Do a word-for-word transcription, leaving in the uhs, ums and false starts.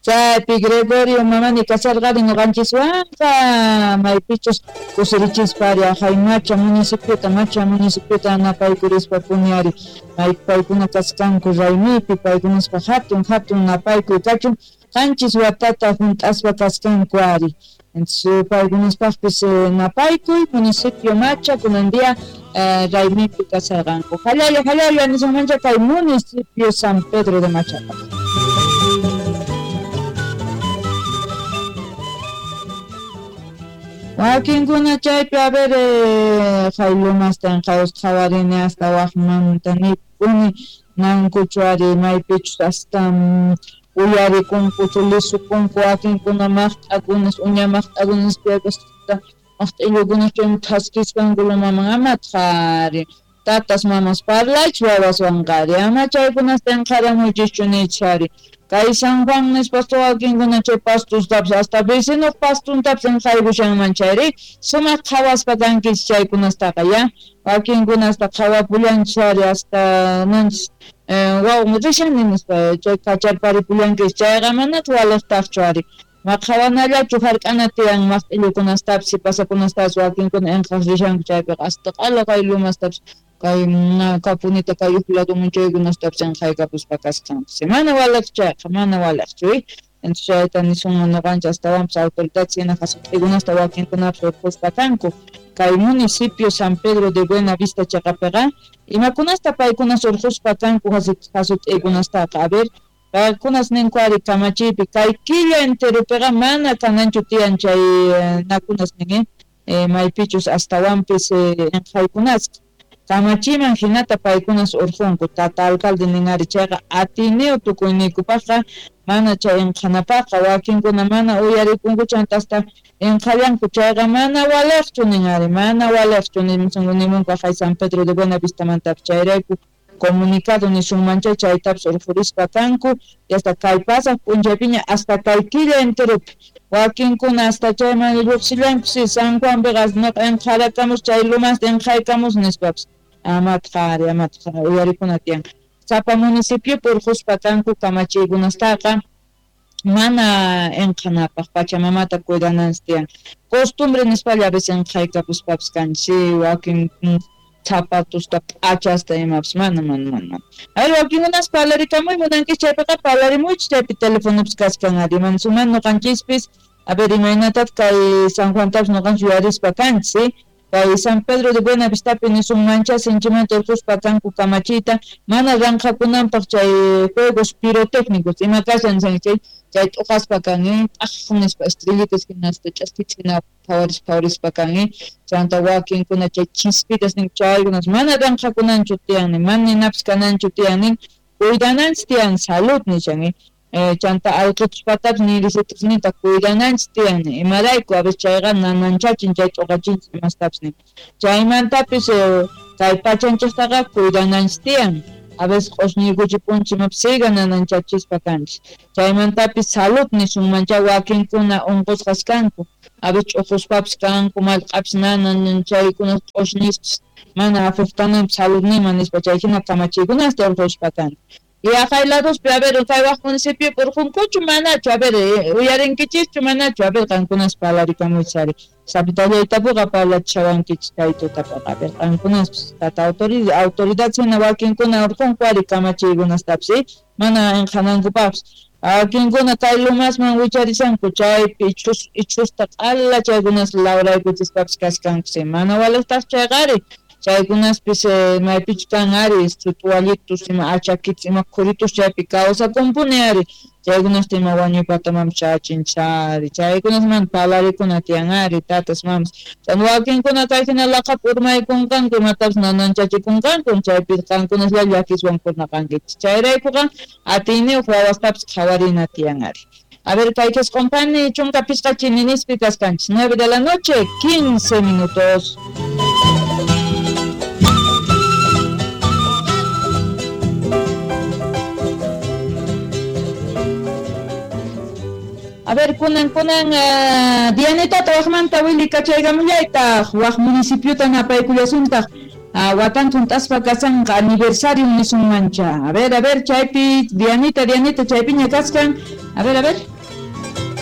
Chaypi Gregorio Mamani kasarqari ñuqanchiswanqa maypichus kusirichispa ari ajay Macha municipiota Macha municipiota napaykurispa puni ari may paykuna kasqanku raymipi paykunaspa hatun hatun napaykuy kachun qanchis watata hunt'aspa kasqanku ari. Entonces paykunaspaqpis napaykuy municipio Macha kunan día raymipi kasarqanku. Jalalla jalalla nisunmancha kay municipio San Pedro de Machapaq. Wakinkuna chaypi a ver haylumasta qhawarini hasta waqmanta nipuni nankuchu ari maypichus hasta uyarikunkuchu lisukunku wakinkuna maqt'akunas uña maqt'akunas piakasta maqt'illukunas chaymi thaskisqanku lumaman amataq ari tatas mamas parlaychis wawaswanqa ari ama chaykunasta inqharamuychischu nichis ari. Kay San Juan nispa wakinkuna chay pastustapas hasta vecinuq pastuntapas inqhaykushanman chayri sumaq qhawaspa kankichis chaykunastaqa ya wakinkunasta qhawapullanchis ari hasta nanchis wawmi rishani nispa chay kacharparipullankichis chayqa manataq waliqtaqchu ari ma qhawanallachu hark'ana tiyan maqt'illukunastapis sipasakunastapis wakinkuna inqhaq rishanku chaypiqa hasta q'ala kay lumastapas kay kapunita kay uj laduman chaykunastapis inqhaykapuspa kasqanpis mana waliqchu chayqa mana waliqchu. Entonces chayta nisunman ñuqanchik astawanpis autoridades hina hasut'ikunasta wakinkunapis urquspa kanku kay municipio San Pedro de Buenavista chaqapiqa imakunasta paykunas urquspa kanku hasut'ikunastaqa a ver paykunas ninku ari kamachiypi kay killa enteropiqa mana kananchu tiyan chay nakunas nin maypichus astawanpis inqhaykunasqa kamachiman hinata paykunas urqunku tata alcalde nin ari chayqa atiniyu tukuyniykupaqqa mana chay inqhanapaqqa wakinkuna mana uyarikunku chanta hasta inqhallanku chayqa mana waliqchu nin ari mana waliqchu nimunku ajay San Pedro de Buenavistamantapis chayrayku comunicado nisunmancha chaytapas urqurispa kanku y hasta kay pasaq p'unchaypiña hasta kay killa enteropi wakinkuna hasta chayman lluqsillanku si San Juanpiqa nuqa inqharakamus chay lumasta inqhaykamus nispapas amataq ari amataq uyarikuna tiyan sapa municipiopi urquspa kanku kamachiykunastaqa mana inqhanapaq pachamamata cuidananchis tiyan costumbre nispalla a veces inqhaykapuspapis kanchis wakin zapatusta p'achasta imapas mana mana mana. A ver wakinkunas parlarikamuy munankichis chaypiqa parlarimuychis chaypi telefonopis kachkan ari mansuman ñuqanchispis a ver imaynatataq kay San Juantapis ñuqanchis yuyarispa kanchis kay San Pedro de Buenavistapi nisunmancha sinchimanta urquspa kanku kamachiyta mana ranqhakunanpaq chay juegos pirotécnicos ima kashan chay chay t'uqaspa kan t'aq nispa estrellitas hinasta ch'askichis hina phawarispa phawarispa kan chanta wakinkuna chay chispitas nin chaykunas mana ranqhakunanchu tiyan mana ninapis kananchu tiyan nin cuidananchis tiyan salud nishan chanta allqutuspatapis nirisitusninta cuidananchis tiyan imarayku a veces chayqa nananchachin chay t'uqachinchis imastapis nin chaymantapis kay pachanchiktaqa cuidananchis tiyan a veces q'usñiykuchipunchis imapis siga nananchachispa kanchis chaymantapis salud nisunmancha wakinkuna unqusqas kanku a veces ch'uquspapis kanku mallq'apis nanan chaykuna q'usñispis mana afectananpis saludninman nispa chayhina kamachiykunasta urquspa kanku. Y ajay ladospi a ver kay waq municipiopi urqunkuchu manachu a ver uyarinkichischu manachu a ver qankunas parlarikamuychis ari sapitallaytapuqa parlachishawankichis kay tutapaqa a ver qankunaspis tata autoridad autoridad hina wakinkuna urqunku ari kamachiykunastapis mana inqhanankupaqpis wakinkuna kay lumasman wicharishanku chaypi ichhus ichhusta q'ala chaykunas lawraykuchispapis kashkanku mana waliqtaq chayqa ari chaykunaspis maypichu kan ari sutuwallitus ima achakitus ima khuritus chaypi kawsakunpuni ari chaykunasta ima wañuypatamanpis chayachinchis ari chaykunas mana parlarikuna tiyan ari tatas mamas chayna wakinkuna kay hina laqhapi urmaykunqanku imatapis nananchachikunqanku chaypi qankunaslla llakiswan kurnaqankichis chayraykuqa atiyniyuq wawastapis qhawarina tiyan ari. A ver, kay qisqunpani chunka pishqa chininispi kasqanchis nueve de la noche quince minutos. A ver, kunan kunan uh, Dianita waqmanta wili kachaykamullaytaq waq municipiota napaykullasuntaq uh, watan hunt'aspa kasanqa aniversario nisunmancha. A ver, a ver, chaypi Dianita, Dianita chaypiña kaskan. A ver, a ver.